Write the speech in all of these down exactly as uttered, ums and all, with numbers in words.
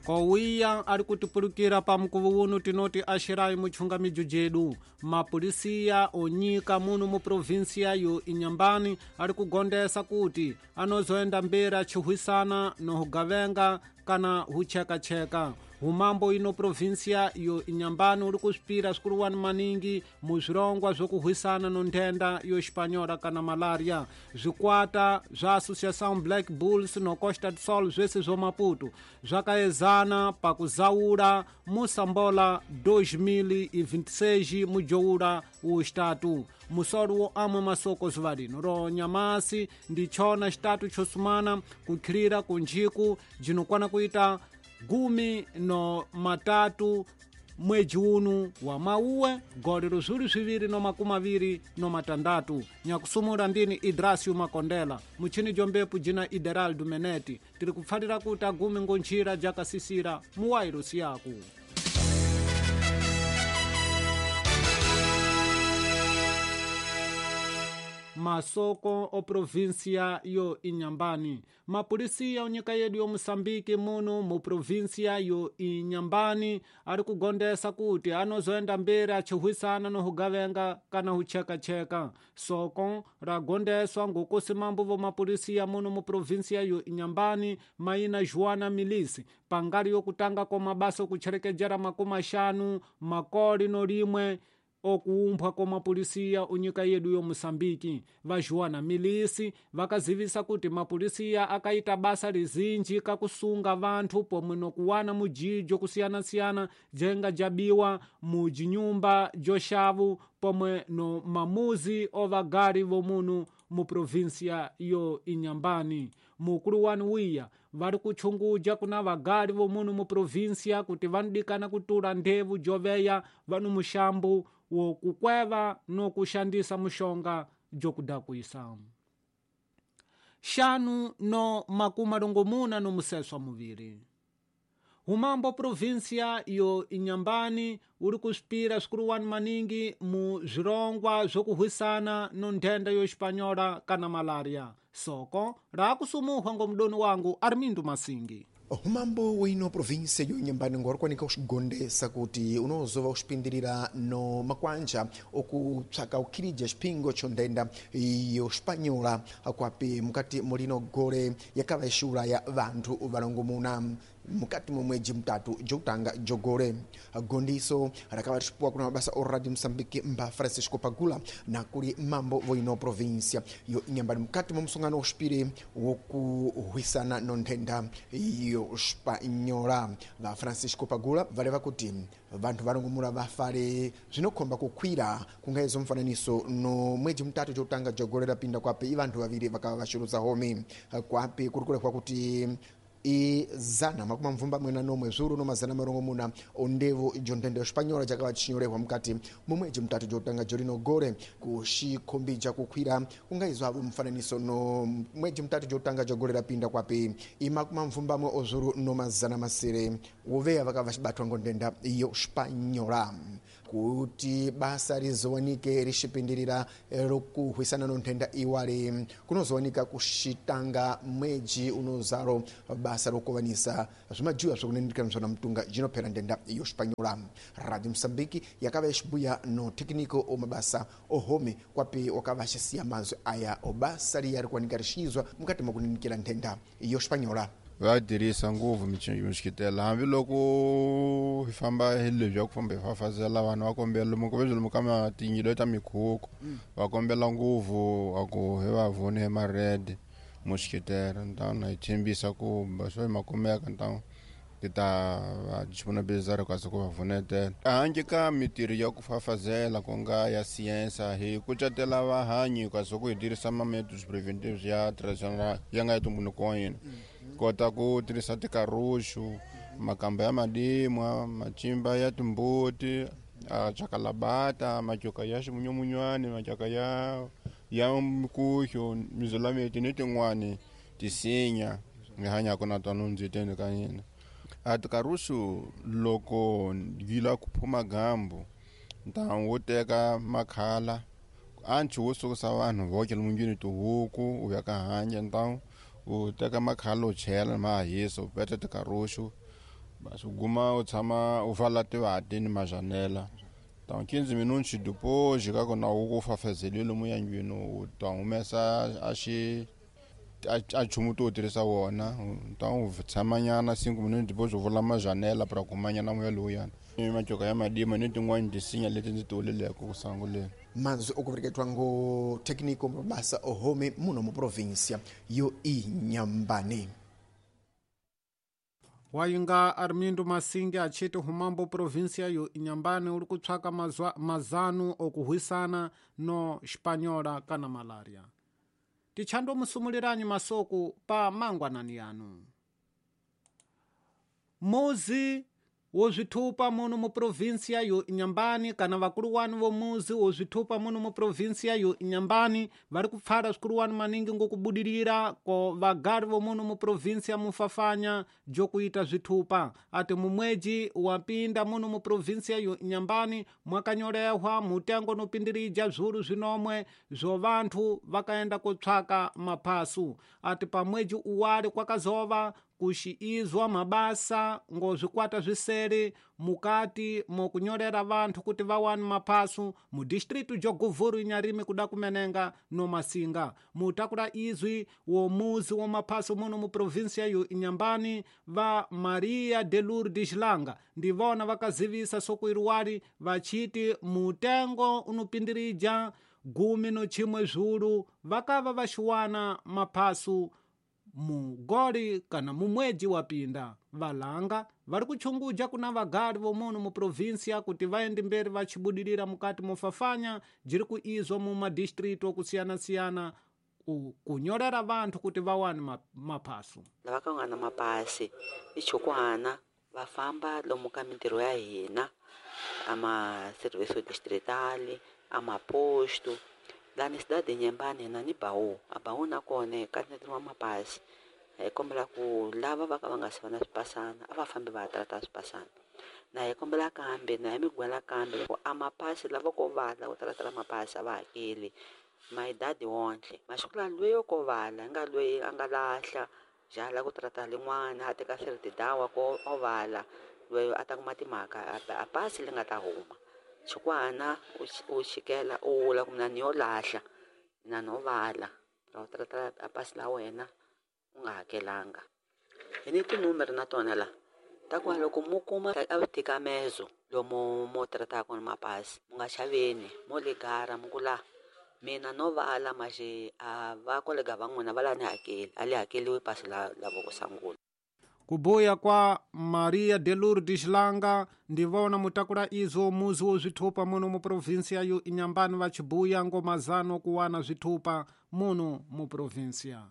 Kowiya ari kutipulukira pa mkuvu uno tinoti ashirai muchunga mijujedu. Mapolisiya onyika muno mu provinsia yo Inhambane ari kugondesa kuti anozoenda mberi achihwisana nohugavenga kana huchekacheka. Humambo ino provinsia yo Inhambane uri kuspira swikuruwani maningi muzvirongwa zvokuhwisana nonthenda yo Espanhola kana malaria. Zvikwata zva Associação Black Bulls no Costa do Sol zvese zvo Maputo zvakaezana pakuzaura Moçambola dois mil e vinte e seis mujoura o estatu. Musoro wo amwe masoko zuvarino ro nyamasi ndichona estatu chosumana kukhirira kunjiku jinokwana kuita gumi no matatu mwedzi unu wa mauwe gole luzuli zwiviri no makumi aviri no matandatu. Nyakusumula ndini Idrasio Makondela muchini jombepu jina Ideraldo Meneti tiri kupfalira kuti agumi ngonjira jakasisira muwairosi yaku. Masoko o província yo Inhambane. Mapolisia onyika yedu yo Moçambique muno mu província yo Inhambane ari kugondesa kuti anozoenda mberi achihwisana nohugavenga kana huchekacheka. Soko ragondeswa ngokusi mambo vo mapolisia muno mu província yo Inhambane maina Joana Milisi pangali yokutanga kwa mabasa okucherekejera makumi axanu makoli no limwe okuumbwa kwa mapolisiya unyika yedu yo Moçambique. Va Joana Milisi vakazivisa kuti mapolisiya akaita basa lizinji kakusunga vanthu pomwe nokuwana mujijo kusiyana-siyana jenga jabiwa mujinyumba joxavu pomwe no mamuzi ovagali vomunu mu província yo Inhambane. Mukulu wanu wiya vari kuchunguja kuna vagali vomunu mu província kuti vanodikana kutula ndevu joveya vanu muxambu wokukweva nokushandisa muxonga jokudakwisa. Xanu no makumi marongomuna no museswa muviri. Humambo província yo Inhambane uri kuspira swikuruwani maningi mu zvirongwa zvokuhwisana no nthenda yo Espanhola kana malaria. Soko rakusumuhwa ngomudoni wangu Armindo Masingi. Humambo wino província yo Inhambane ngorikwanika uxigondesa kuti unozova uxipindirira no makwanja okupsaka ukhirija xiphingo cho nthenda yo Espanhola kwapi mukati mulino gole yakava ixula ya vanthu valongomuna mukati mwa mwedzi mutatu jokutanga jogole. Gondiso rakava rixipuwa kuna mabasa o Radio Moçambique mba Francisco Pagula na kuli mambo voino província yo Inhambane mukati mwa musongano uxipiri wokuhwisana no nthenda yo Espanhola. Va Francisco Pagula valeva kuti vanthu valongomula vafale zvinokhomba kukhwira kungaezo mfananiso no mwedzi mutatu jokutanga jogole rapinda kwapi i vanthu vaviri vakava vaxuluza home kwapi kuri kulekwa kuti i zana makumi mvumbamwe na nomwe zuru no mazana marongomuna ondevu jo nthenda yo Espanhola jakava chinyorehwa mukati mumwedzi mutatu jotanga jolino gore kuxikhombija kukhwira kungaizwa avo mfananiso no mwedzi mutatu jotanga jogore rapinda kwapi i makumi mvumbamwe ozuru no mazana masere woveya vakava vaxibatwa ngo nthenda yo Espanhola. Kuti basa rizowanike rixipindirira lokuhwisana no nthenda iwali kunozowanika kuxitanga mwedzi unozalo basa lokovanisa zvimajiwa zvokunendikana zvona mutunga jinophera nthenda yo Espanhola. Radio Moçambique yakava ixibuya no técnico omabasa ohome kwapi wakava axisiya mazwi aya obasa liya rikuwanika rixizwa mukati mwakunendikira nthenda yo Espanhola. Va tirhisa ngopfu mixikitela hambiloko hi famba hi lebyi ya ku famba hi fafazela vanhu va kombela lomu ku lomu ka matinyilo ta mikhukhu va kombela ngopfu a ku hi va vone hi ma-red moxikitela ntawna hi tshembisa ku swo ma kumeka ntawu ti ta va disponibilizar kasi ku va vunetela handle ka mitirho ya ku fafazela ku nga ya siyensa hi kucetela vahanyi kasi ku hi tirhisa ma-methods preventives ya traditional ya nga ya ntumbuluko wa hina kota ku tirhisa tikaruxu makamba ya madimwa macimba ya timbuti chakalabata macoka ya ximunyamunywani macoka ya ya mikuxu mizulameti ni tin'wani tisinya hi hanyaka na tona ndziteni ka hina. A tikaruxu loko yi lava ku phuma gambu ntamu wo teka makhala anchi wo sukusa vanhu voke lomu tihuku u ya ka hanya ntamu u teka makhala u chela ma hisa u peta tikaruxu Basi u guma u tshama u vala tivati ni majanela. Então quinze minutos depois ka kona u ku fafazeliwe lomu yandlwini u ta humesa a xi a nchumu to tirhisa wona. Então u tshamanyana cinco minutos depois u vula majanela para kumanyana moya lowuyana. Matyoka ya madima ni tin'wani tisinya leti ndzi ti vuleleke ku sunguleni. Mazwi okuvereketwa ngo técnico mabasa ohome muno mu província yo Inhambane. Wayinga Armindo Masinge achiti humambo província yo Inhambane uri kutsvaka mazanu okuhwisana no Espanhola kana malaria. Tichando musumuliranyi masoko pa mangwanani yanu. Muzi wozvitupa muno mu província yo Inhambane kana vakuluwani vomuzi wozvitupa muno mu província yo Inhambane vari kupfara zvikuluwani maningi ngokubudirira ko vagari vomuno mu província mufafanya jokuita zvitupa. Ati mumweji wapinda muno mu província yo Inhambane mwakanyorehwa mutengo nopindirija zvuru zvinomwe zvo vanthu vakaenda kotsvaka maphasu. Ati pamweji uwali kwakazova kuxiizwa mabasa ngo zvikwata zvisere mukati mokunyorera vanthu kuti vawane maphasu mu distritu jo Govuro Inharime kuda kumenenga no Masinga. Mutakula izwi womuzi wo maphasu muno mu província yo Inhambane va Maria de Lourdes Langa ndivona vakazivisa sokuiruwali vachiti mutengo unopindirija gumi no chimwe zvulu vakava vaxiwana maphasu mugoli kana mumweji wapinda. Valanga vari kuchunguja kuna vagari vomuno mu província kuti vaende mberi vachibudirira mukati mofafanya jiri kuizwa mu madistritu okusiyana-siyana kunyorera vanthu kuti vawane maphasu. Lava ka nga na mapasi i chukwana va famba lomu ka mintirho ya hina a ma serviço distrital a maposto lani cidade Inhambane hina ni Baú. A Baú na kona ka netiwa mapasi. Hi kombela ku lava va ka va nga si va na swipasana a va fambi va ya trata swipasana. Na hi kombela kambe na hi mi gwela kambe loko a mapasi lava ko vala ku talatala mapasi a va hakeli mayidadi wontle. Masiku lawa lweyo ko vala nga lweyi a nga lahla jala ku trata lin'wana a teka dawa ko o vala lweyo a ta kuma timhaka a pasi li nga ta huma. Xikwana u xikela u vula ku mina ni yo lahla mina no vala ra trata a pasi la wena u nga hakelanga. Hi ni tinumere na tona la ta ku loko mu kuma a vutikamezo lomu mo trataka kona mapasi mu nga xaveni mo ligara mu ku la mina no vala maxe a va kolega va n'wina va la ni hakeli a li hakeliwi pasi la la vo ku sungula. Kubuya kwa Maria de Lourdes Langa ndivona mutakula izo muzi wo zvitupa muno mu província yo Inhambane vachibuya ngo mazano kuwana zvitupa muno mu província.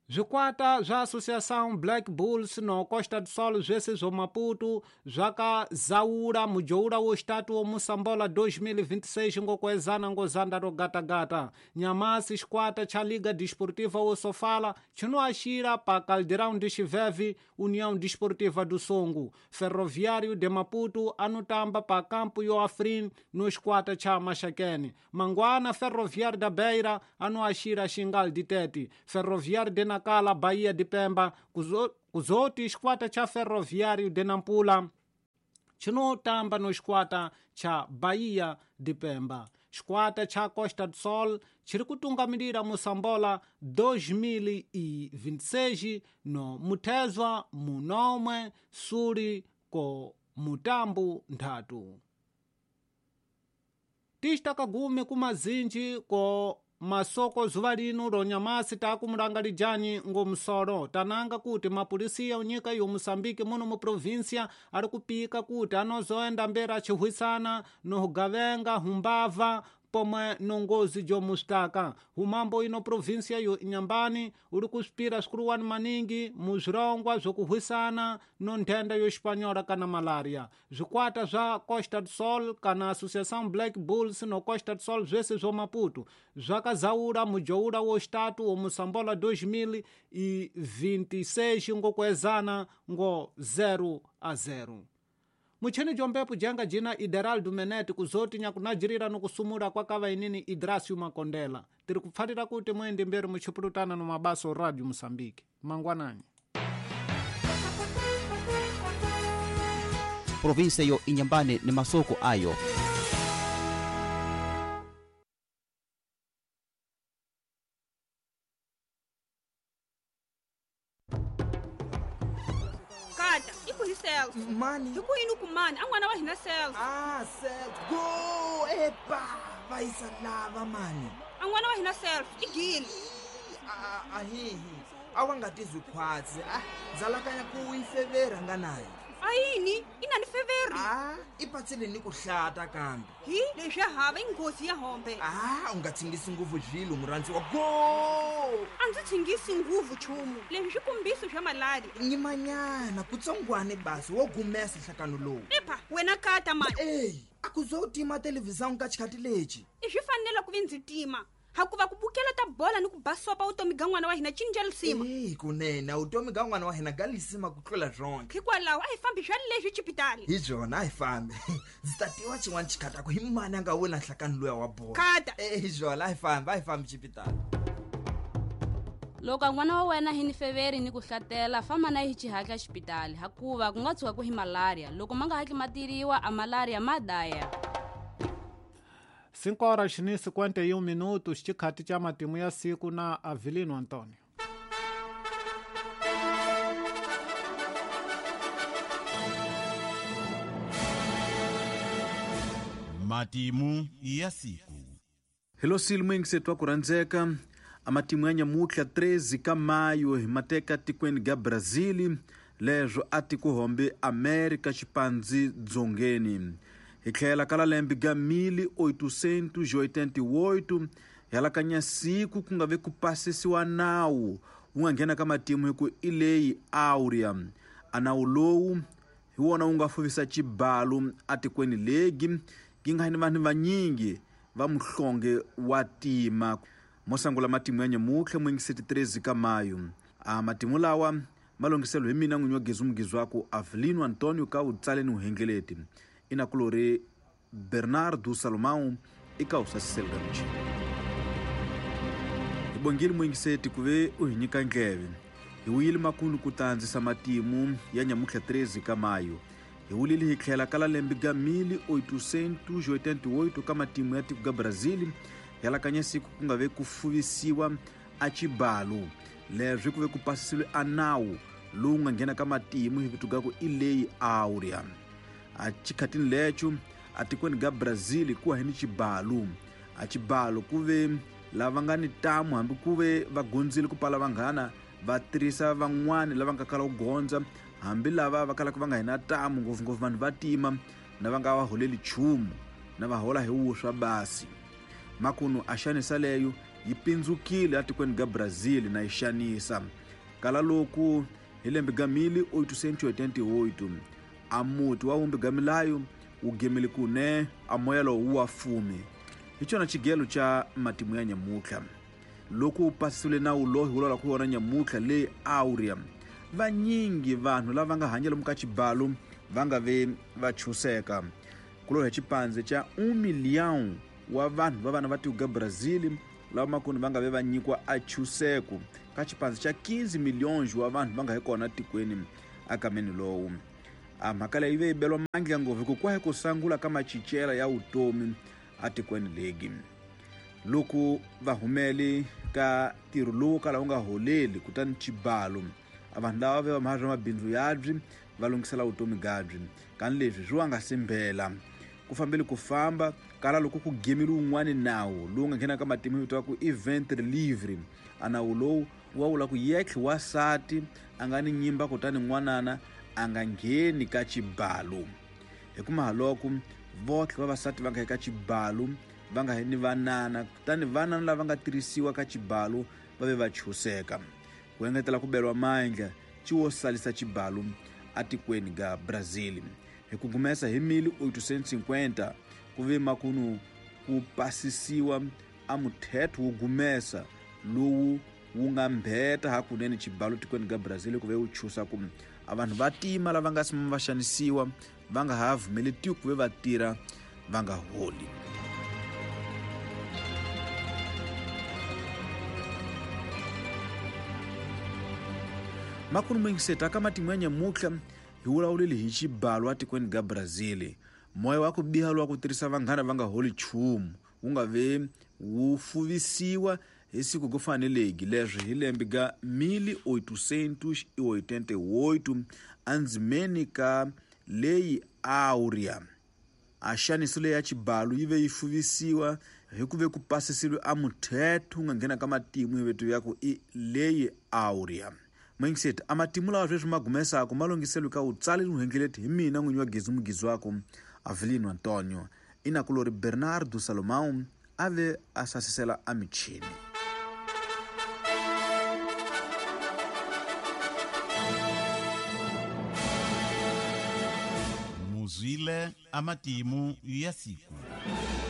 Zvikwata zva Associação Black Bulls no Costa do Sol zvese zvo Maputo zvakazaura mujoura wo estatu wo Moçambola dois mil e vinte e seis ngokuezana ngozanda ro gata-gata. Nyamasi xikwata cha Liga Desportiva wo Sofala chinoaxira pa Caldeirão de Chiveve União Desportiva do Songo. Ferroviário de Maputo anotamba pa Campo yo Afrin no xikwata cha Maxaquene. Manguana Ferroviário da Beira anoaxira Xingal de Tete. Ferroviário de Nacala, Bahia de Pemba, kuzoti xikwata cha Ferroviário de Nampula chinotamba no xikwata cha Bahia de Pemba. Xikwata cha Costa do Sol chiri kutungamirira Moçambola dois mil e vinte e seis no muthezwa munomwe suli ko mutambu nthatu. Tixtakagume kumazinji ko masoko zuva lino ronyamasi takumulangalijani ngomusolo tananga kuti mapulisiya unyika yo Moçambique muno mu província ari kupika kuti anozoenda mberi achihwisana nohugavenga humbava pomwe nongozi jomustaka. Humambo ino província yo Inhambane uri kuspira swikuluwani maningi muzvirongwa zvokuhwisana no nthenda yo Espanhola kana malaria. Zvikwata zva Costa do Sol kana Associação Black Bulls no Costa do Sol zvese zvo Maputo zvakazaura mujoura wo estatu wo Moçambola dois mil e vinte e seis ngokuezana ngo zero a zero. Muchini jombepo jenga jina Ideraldo Menete kuzoti nyakunajirira nokusumura kwakava inini Idrasio Makondela. Tiri kupfarira kuti muende mberi muchipurutana no mabaso Radio Moçambique. Mangwanani. Província yo Inhambane ni masoko ayo. Kata, iku hi Celso. Mani. Hiku yini ku mani? A n'wana wa hina Celso. Ah, Celso. Go, epa, va yisa lava mani. A n'wana wa hina Celso, i gile. A hihi. A wa nga tizwi khwatsi. Ah, ndzalakanya ku yi fevera nga nayo. A yini? I na ni feveri? Ah, i patsile ni ku hlata kambe. Hi, leswi hava i nghozi ya hombe. Ah, u nga tshingisi nguvu zvilo murhandziwa. Go! A ndzi tshingisi nguvu chumu. Leswi swi kombiso swa malaria. Nyimanyana kutsongwane basi wo gumesa nhlakano lowu. Epa, wena kata mani. Ey, a ku zo tima televhizão ka xikhathi lexi. I swi fanele ku vi ndzi tima. Hakuva ku bukela ta bola ni ku basopa vutomi ga n'wana wa hina cinca lisima. Eh, kunene vutomi ga n'wana wa hina ga lisima ku tlula zonke. Hikwalaho a hi fambi swa leswi xipitali. Hi byona a hi fambi. Ndzi ta tiva xin'wana xikhataku hi mani a nga wina nhlakano luya wa bola. Kata. Eh, hi byona a hi fambi, a hi fambi xipitali. Loko n'wana wa wena hi ni feveri ni ku hlatela, famba na hi xihatla xipitali, hakuva ku nga tshuka ku hi malaria. Loko ma nga hatli ma tiriwa, a malaria ma daya. cinco horas e cinquenta e um minutos, xikhathi xa matimu ya siku na Avelino Antonio. Matimu ya siku. Hello silmwing twa ku rhandzeka a matimu ya nyamutlha treze ka mayo hi mateka tikweni ga Brazil leswo a tikuhombe America xipandzi dzongeni. Hi tlhela ka lembe ga mil oitocentos e oitenta e oito yalakanya siku ku nga ve ku pasisiwa nawu wu nga nghena ka matimu hi ku i leyi Áurea. A nawu lowu hi wona wu nga fuvisa xibalo atikweni legi yi nga ni vanhu vanyingi va muhlonge wa tima. Mo sangula matimu ya nyamutlha mwingiseti treze ka mayo. A matimu lawa malongiselo hi mina n'winyi wa Gezu Mugizwaku Avelino Antonio ka vutsaleni vuhengeleti. Inakulori Bernardo Salomão e calça selgante. Hi bongile mwingiseti ku ve u hi nyika ndleve. Hi wuyile makundu ku ta andzisa matimu ya nyamutlha treze ka mayo. Hi wulile hi tlhela ka la lembe ga mil oitocentos e oitenta e oito ka matimu ya tiko ga Brazil yalakanya siku ku nga ve ku fuvisiwa a xibalo. Leswi ku ve ku pasisiwe a nawu lowu nga nghena ka matimu hi vito ga ku i leyi Áurea. A xikhatini lexo a tikweni ga Brazil ku hi ni xibalo. A xibalo ku ve lava nga ni tamu hambi ku ve va gondzile ku pala vanghana va tirhisa van'wani lava nga kala ku gondza hambi lava va kalaka va nga hina tamu ngopfungopfu vanhu va tima na va nga va holeli nchumu na va hola hi wuswa basi. Makunu a xanisa leyo yi pindzukile atikweni ga Brazil na yi xanisa. Kala loku hi lembe ga mil oitocentos e oitenta e oito a muti wa wumbi ga milayo wu gemile kune a moya lowu wa fumi. Hi xona xigelo xa matimu ya nyamutlha. Loko wu pasisiwile nawu lowu hi vulavulaka ku wona nyamutlha leyi Áurea, vanyingi vanhu lava nga hanya lomu ka xibalo va nga ve va chuseka. Ku lorha xipandze xa um milhão wa vanhu va vana va tiko ga Brazil lava makunu va nga ve va nyikiwa a chuseko ka xipandze xa quinze milhões wa vanhu va nga hi kona tikweni akameni lowu. A mhaka leyi ve yi beliwa mandla ngopfu hikuva ku sangula ka machichela ya vutomi atikweni legi. Loko va humele ka ntirho lowu kala wu nga holeli kutani xibalo a vanhu lava ve va mhazwa mabindzu yabyi va lunghisela vutomi gabyi kani leswi swi wa nga simbela. Ku fambele ku famba kala loko ku gemile wun'wani nawu lowu nga nghena ka matimu vito wa ku i ventre livre. A nawu lowu wa vula ku yetlhe wasati a nga ni nyimba kutani n'wanana a nga ngheni ka xibalo. Hi ku mahaloko votlhe vavasati va nga eka xibalo va nga ni vanana kutani vanana lava nga tirhisiwa ka xibalo va ve va chuseka. Ku engetela ku beriwa mandla xiwo salisa xibalo atikweni ga Brazil. Hi ku gumesa hi mil oitocentos e cinquenta ku ve makunu ku pasisiwa a muthetho wo gumesa lowu wu nga mbheta hakunene xibalo tikweni ga Brazil ku ve wu chusa ku a vanhu va tima lava nga sima va xanisiwa va nga ha vumeletiwi ku ve va tirha va nga holi. Makunu mwingiseta ka matimu ya nyamutlha Hi vulavulile hi xibalo atikweni ga Brazil. Moya wa ku biha lowa ku tirhisa vanghana va nga holi nchumu wu nga ve wu fuvisiwa hi siku go faneleki leswi hi lembe ga mil oitocentos e oitenta e oito andzimeni ka leyi Áurea. A xaniso leyi ya xibalo yi ve yi fuvisiwa hi ku ve ku pasisiwe a muthetho wu nga nghena ka matimu hi veto ya ku i leyi Áurea. Mindset a matimu lawa sweswi ma gumesaka ma longhiselwe ka wutsali ni hi mina n'winyi wa Gezi Mugizi wako Avelino Antonio. Inakulori Bernardo Salomão a ve a sasisela a michini. Muzwile a matimu ya siku.